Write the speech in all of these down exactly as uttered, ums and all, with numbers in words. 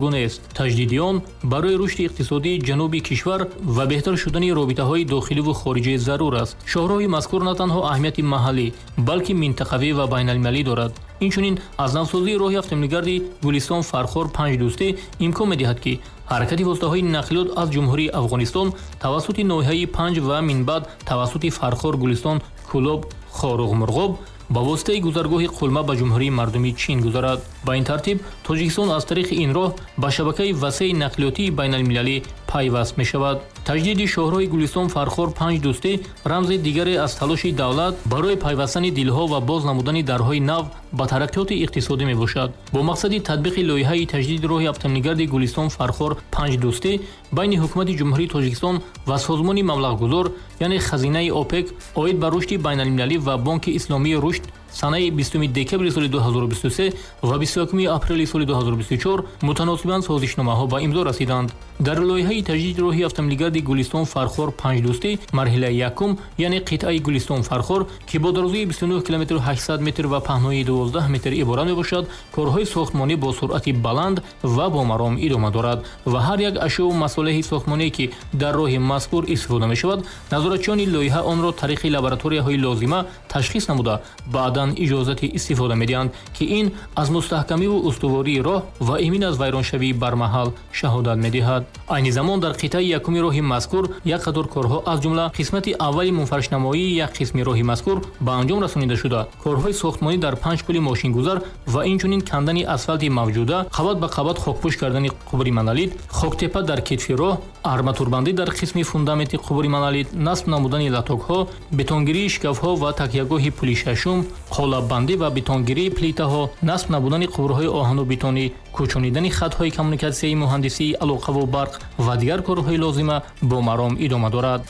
Нест. Таҷдиди он барои рушди иқтисодии ҷануби кишвар ва беҳтар шудани робитаҳои дохиливу хориҷӣ зарур аст. Шоҳроҳи мазкур на танҳо аҳамияти маҳаллӣ, балки минтақавӣ ва байналмилалӣ дорад. Инчунин аз навсозии роҳи автомобилгарди Гулистон Фархор панҷ дӯстӣ имкон медиҳад, ки ҳаракати воситаҳои нақлиёт аз Ҷумҳурии Афғонистон тавассути ноҳияи Панҷ ва минбаъд тавассути Фархор, Гулистон, Кӯлоб, Хоруғ, Мурғоб ба воситаи гузаргоҳи Қулма ба Ҷумҳурии Мардумии Чин гузарад. Ба ин тартиб Тоҷикистон аз тариқи ин роҳ ба шабакаи васеи нақлиётии байналмилалӣ пайваст мешавад. Таҷдиди шоҳроҳи Гулистон Фархор панҷ дӯстӣ рамзи дигаре аз талоши давлат барои пайвастани дилҳо ва боз намудани дарҳои нав ба тараққиёти иқтисодӣ мебошад. Бо мақсади татбиқи лоиҳаи таҷдиди роҳи автомобилгарди Гулистон Фархор панҷ дӯстӣ байни ҳукумати Ҷумҳурии Тоҷикистон ва созмони маблағгузор, яъне хазинаи ОПЕК оид ба рушди байналмилалӣ ва Бонки Исломии рушд санаи бистуми декабри соли ду ҳазору бисту се ва бисту якуми апрели соли ду ҳазору бисту чор мутаносибан созишномаҳо ба имзо расиданд. Дар лоиҳаи таҷдиди роҳи автомобилгарди Гулистон Фархор панҷ дӯстӣ марҳилаи якум, яъне қитъаи Гулистон Фархор, ки бо дарозии бисту нӯҳ километру ҳаштсад метр ва паҳноии дувоздаҳ метр иборат мебошад, корҳои сохтмонӣ бо суръати баланд ва бо маром идома дорад ва ҳар як ашёу масолеҳи сохтмоние, ки дар роҳи мазкур истифода мешавад, назоратчиёни лоиҳа онро тариқи лабораторияҳои лозима ташхис намуда, баъдан иҷозати истифода медиҳанд, ки ин аз мустаҳкамиву устувории роҳ ва эмин аз вайроншавии бармаҳал шаҳодат медиҳад. Айни замон дар қитъаи якуми роҳи мазкур як қатор корҳо, аз ҷумла қисмати аввали мунфаришнамоии як қисми роҳи мазкур ба анҷом расонида шуда, корҳои сохтмонӣ дар панҷ пули мошингузар ва инчунин кандани асфалти мавҷуда, қабат ба қабат хокпӯш кардани қубури монолит, хоктепа дар китфи роҳ, арматурбандӣ дар қисми фундаменти қубури монолит, насб намудани латокҳо, бетонгирии шикафҳо ва такягоҳи пули шашум, қолаббандӣ ва бетонгирии плитаҳо, насб намудани қубурҳои оҳану бетонӣ, кӯчонидани хатҳои коммуникатсияи муҳандисии алоқаву барқ ва дигар корҳои лозима бо маром идома дорад.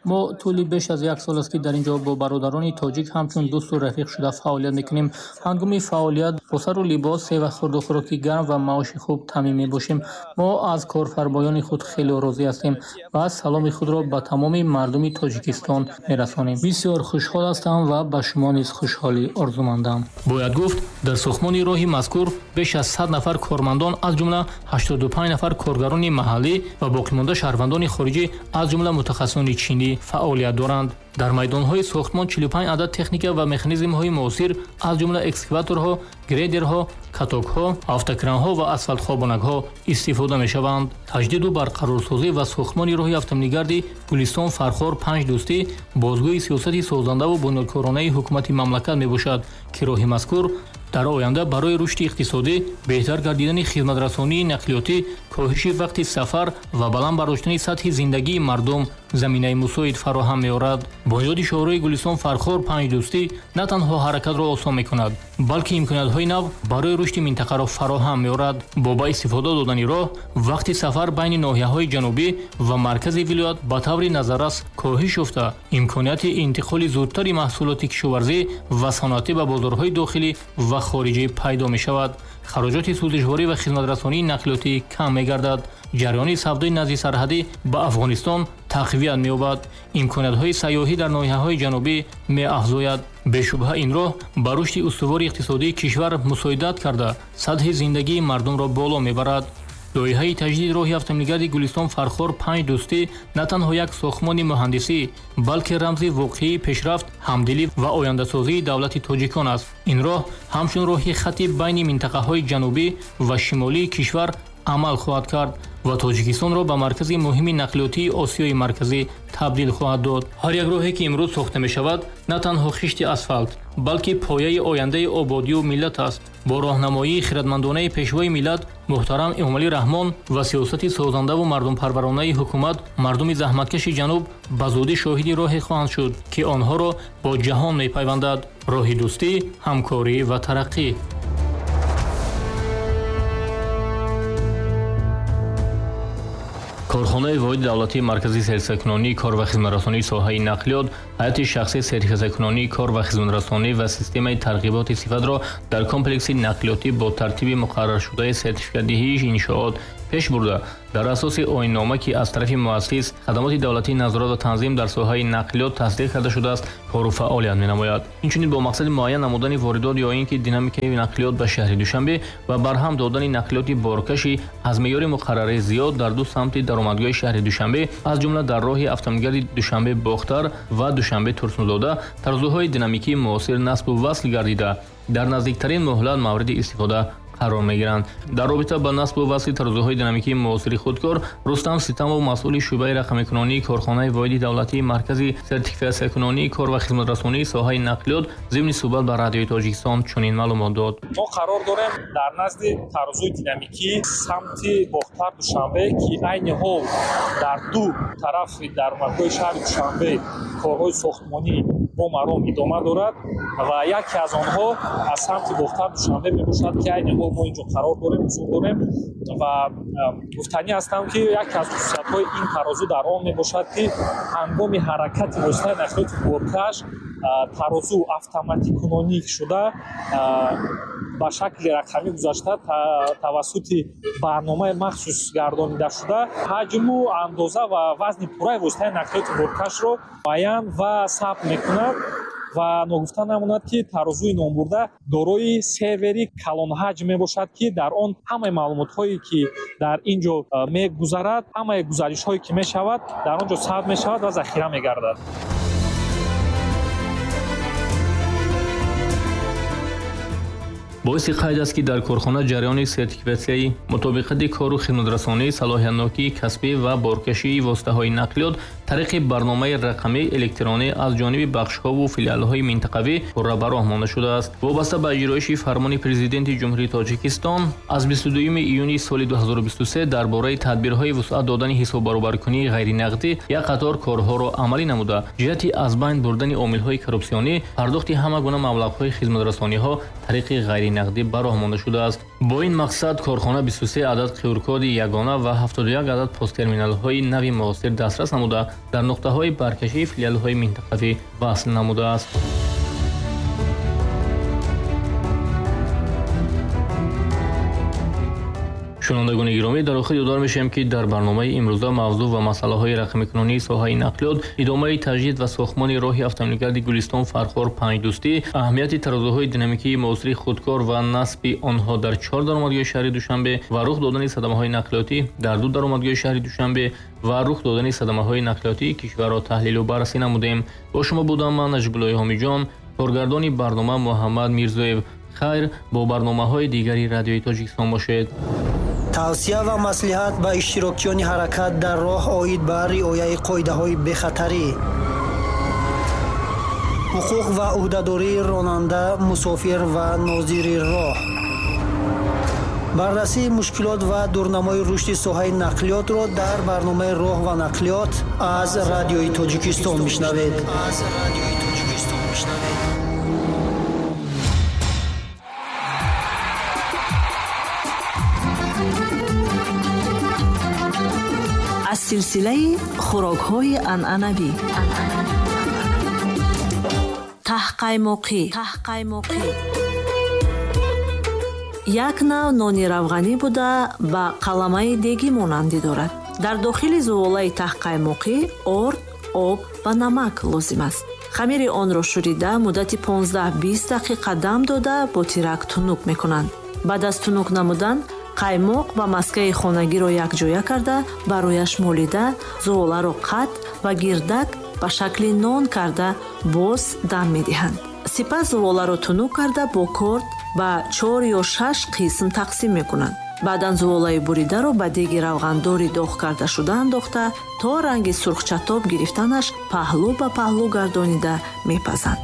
Мо тӯли беш аз як сол аст, ки дар ин ҷо бо бародарони тоҷик ҳамчун дӯсту рафиқ шуда фаъолият мекунем. Ҳангоми фаъолият бо сару либос, сева, хурду хӯроки гарм ва маоши хуб таъмин мебошем. Мо аз корфармоёни худ хеле розӣ ҳастем ва саломи худро ба тамоми мардуми Тоҷикистон мерасонем. Бисёр хушҳол ҳастам ва ба шумо низ хушҳолӣ орзумандам. Бояд гуфт, дар сохтмони роҳи мазкур беш аз сад нафар кормандон, аз ҷумла ҳаштоду панҷ нафар коргарони маҳаллӣ ва боқимонда шаҳрвандони хориҷӣ, аз ҷумла мутахассисони чинӣ фаъолият доранд. Дар майдонҳои сохтмон чилу панҷ адад техника ва механизмҳои муосир, аз ҷумла экскаваторҳо, грейдерҳо, катокҳо, автокранҳо ва асфалтхобонакҳо истифода мешаванд. Таҷдиду барқарорсозӣ ва сохтмони роҳи автомобилгарди Гулистон Фархор панҷ дӯстӣ бозгӯи сиёсати созандаву бунёдкоронаи ҳукумати мамлакат мебошад, ки роҳи мазкур дар оянда барои рушди иқтисодӣ, беҳтар гардидани хизматрасонии нақлиётӣ, коҳиши вақти сафар ва баланд бардоштани сатҳи зиндагии мардум заминаи мусоид фароҳам меорад. Бунёди шоҳроҳи Гулистон Фархор панҷ дӯстӣ на танҳо ҳаракатро осон мекунад, балки имкониятҳои нав барои рушди минтақаро фароҳам меорад. Бо ба истифода додани роҳ, вақти сафар байни ноҳияҳои ҷанубӣ ва маркази вилоят ба таври назаррас коҳиш ёфта, имконияти интиқоли зудтари маҳсулоти кишоварзӣ ва саноатӣ ба бозорҳои дохилӣ ва хориҷӣ пайдо мешавад. Хароҷоти сӯзишворӣ ва хизматрасонии нақлиётӣ кам мегардад. Ҷараёни савдои назди сарҳадӣ ба Афғонистон тақвият меёбад. Имкониятҳои сайёҳӣ дар ноҳияҳои ҷанубӣ меафзояд. Бешубҳа ин роҳ ба рушди устувори иқтисодии кишвар мусоидат карда, сатҳи зиндагии мардумро боло мебарад. Лоиҳаи таҷдиди роҳи автомобилгарди Гулистон Фархор панҷ дӯстӣ на танҳо як сохтмони муҳандисӣ, балки рамзи воқеии пешрафт, ҳамдилӣ ва ояндасозии давлати тоҷикон аст. Ин роҳ ҳамчун роҳи хати байни минтақаҳои ҷанубӣ ва шимолии кишвар амал хоҳад кард ва Тоҷикистонро ба маркази муҳими нақлиётии Осиёи Марказӣ табдил хоҳад дод. Ҳар як роҳе, ки имрӯз сохта мешавад, на танҳо хишти асфалт, балки пояи ояндаи ободию миллат аст. Бо роҳнамоии хиратмандонаи пешвои миллат муҳтарам Эмомалӣ Раҳмон ва сиёсати созандаву мардумпарваронаи ҳукумат, мардуми заҳматкаши ҷануб ба зудӣ шоҳиди роҳе хоҳанд шуд, ки онҳоро бо ҷаҳон мепайвандад. Роҳи дӯстӣ, ҳамкорӣ ва тараққӣ. Корхонаи воҳиди давлатии марказии сертификаткунонии кор ва хизматрасонии соҳаи нақлиёт ҳайати шахсии сертификаткунонии кор ва хизматрасонӣ ва системаи тарғиботи сифатро дар комплекси нақлиётӣ бо тартиби муқарраршудаи сертификатдиҳии иншоот пеш бурда, дар асоси оиннома, ки аз тарафи муассис хадамоти давлатии назорат ва танзим дар соҳаи нақлиёт тасдиқ карда шудааст, кору фаъолият менамояд. Инчунин бо мақсади муайян намудани воридот ё ин ки динамикаи нақлиёт ба шаҳри Душанбе ва барҳам додани нақлиёти боркашӣ аз меъёри муқаррарӣ зиёд дар ду самти даромадгоҳи шаҳри Душанбе, аз ҷумла дар роҳи автомобилгарди Душанбе-Бохтар ва Душанбе-Турсунзода тарозуҳои динамикии муосир насбу васл гардида, дар наздиктарин муҳлат мавриди истифода қарор мегиранд. Дар робита ба насбу васли тарозуҳои динамикии муосири худкор, Рустам Ситамов, масъули шӯъбаи рақамикунонии корхонаи воҳиди давлатии маркази сертификатсиякунонии кор ва хизматрасонии соҳаи нақлиёт, зимни суҳбат ба Радиои Тоҷикистон чунин маълумот дод. Мо қарор дорем дар назди тарозуи динамикии самти Бохтар Душанбе, ки айни ҳол дар ду тарафи даромадгоҳи шаҳри Душанбе корҳои сохтмонӣ бо маром идома дорад ва яке аз онҳо аз самти Бохтар Душанбе мебошад, ки айни ҳол мо инҷо қарор дорем, ҳузур дорем ва гуфтанӣ ҳастам, ки яке аз хусусиятҳои ин тарозу дар он мебошад, ки ҳангоми ҳаракати воситаи нақлиёти боркаш тарозу автоматикунонӣ шуда ба шакли рақамӣ гузашта тавассути барномаи махсус гардонида шуда ҳаҷму андоза ва вазни пурраи воситаи нақлиёти боркашро муайян ва сабт мекунад. Ва ногуфта намонад, ки тарозуи номбурда дорои сервери калонҳаҷм мебошад, ки дар он ҳамаи маълумотҳое, ки дар ин ҷо мегузарад, ҳамаи гузаришҳое, ки мешавад, дар он ҷо сабт мешавад ва захира мегардад. Боиси қайд аст, ки дар корхона ҷараёни сертификатсияи мутобиқати кору хизматрасонӣ, салоҳиятнокии касбӣ ва боркашии воситаҳои нақлиёт тариқи барномаи рақамии электронӣ аз ҷониби бахшҳову филиалҳои минтақавӣ пурра ба роҳ монда шудааст. Вобаста ба иҷроиши фармони Президенти Ҷумҳурии Тоҷикистон аз бисту дуюми июни соли ду ҳазору бисту се дар бораи тадбирҳои вусъат додани ҳисоббаробаркунии ғайринақдӣ як қатор корҳоро амалӣ намуда, ҷиҳати аз байн бурдани омилҳои коррупсионӣ, пардохти ҳама гуна маблағҳои хизматрасониҳо тариқи ғайринақдӣ ба роҳ монда шудааст. Бо ин мақсад корхона бисту се адад Q R-коди ягона ва ҳафтоду як адад посттерминалҳои нави муосир дастрас намуда, дар нуқтаҳои баркашии филиалҳои минтақавӣ васл намудааст. Шунавандагони гиромӣ, дар охир ёдовар мешавем, ки дар барномаи имрӯза мавзӯъ ва масъалаҳои рақамикунонии соҳаи нақлиёт, идомаи таҷдид ва сохтмони роҳи автомобилгарди Гулистон Фархор Панҷдӯстӣ, аҳамияти тарозуҳои динамикии муосири худкор ва насби онҳо дар чор даромадгоҳи шаҳри Душанбе ва рух додани садамаҳои нақлиётӣ дар ду даромадгоҳи шаҳри Душанбе ва рух додани садамаҳои нақлиётии кишварро таҳлилу баррасӣ намудем. Бо шумо будам ман, Наҷибуллои Ҳомиҷон, коргардони барнома Муҳаммад Мирзоев. Хайр, бо барномаҳои дигари Радиои Тоҷикистон бошед. Тавсия ва маслиҳат ба иштирокчиёни ҳаракат дар роҳ оид ба риояи қоидаҳои бехатарӣ, ҳуқуқ ва ӯҳдадории ронанда, мусофир ва нозири роҳ, баррасии мушкилот ва дурнамои рушди соҳаи нақлиётро дар барномаи роҳ ва нақлиёт аз Радиои Тоҷикистон мешунавед. Аз силсилаи хӯрокҳои анъанавӣ таҳқаймоқӣ. Як нав нони равғанӣ буда, ба қаламаи дегӣ монандӣ дорад. Дар дохили зуволаи таҳқаймоқӣ орд, об ва намак лозим аст. Хамири онро шӯрида муддати понздаҳ-бист дақиқа дам дода бо тирак тунук мекунанд. Баъд аз тунук намудан қаймоқ ва маскаи хонагиро якҷоя карда, барояш молида, зуволаро қат ва гирдак ба шакли нон карда боз дам медиҳанд. Сипас зуволаро тунук карда бо корд ба чор ё шаш қисм тақсим мекунанд. Баъдан зуволаи буридаро ба деги равғандори доғ карда шуда андохта, то ранги сурхчатоб гирифтанаш паҳлӯ ба паҳлӯ гардонида мепазанд.